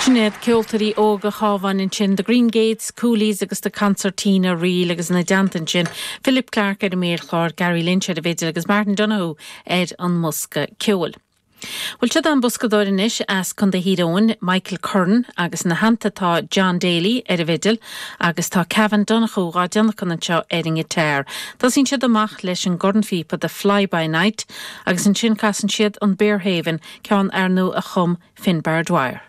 Sin iad ceoltóirí óga Chabháin ansin, The Green Gates, Coolies agus The Concertina Reel agus ina dteannta ansin, Philip Clarke ar an méarchlár, Gary Lynch ar an bhfidil agus Martin Donohoe ar an mbosca ceoil. Bhuel, siod é an boscadóir anois as Contae Thír Eoghain, Michael Curran, agus ina theannta tá John Daly ar an bhfidil agus tá Cavan Donoghue dhá dtionlacan anseo ar an ngiotár. Tosaíonn siad amach leis an gcornphíopa The Fly By Night agus ansin casann siad an Berehaven, ceann ar ndóigh a chum Finbar Dwyer.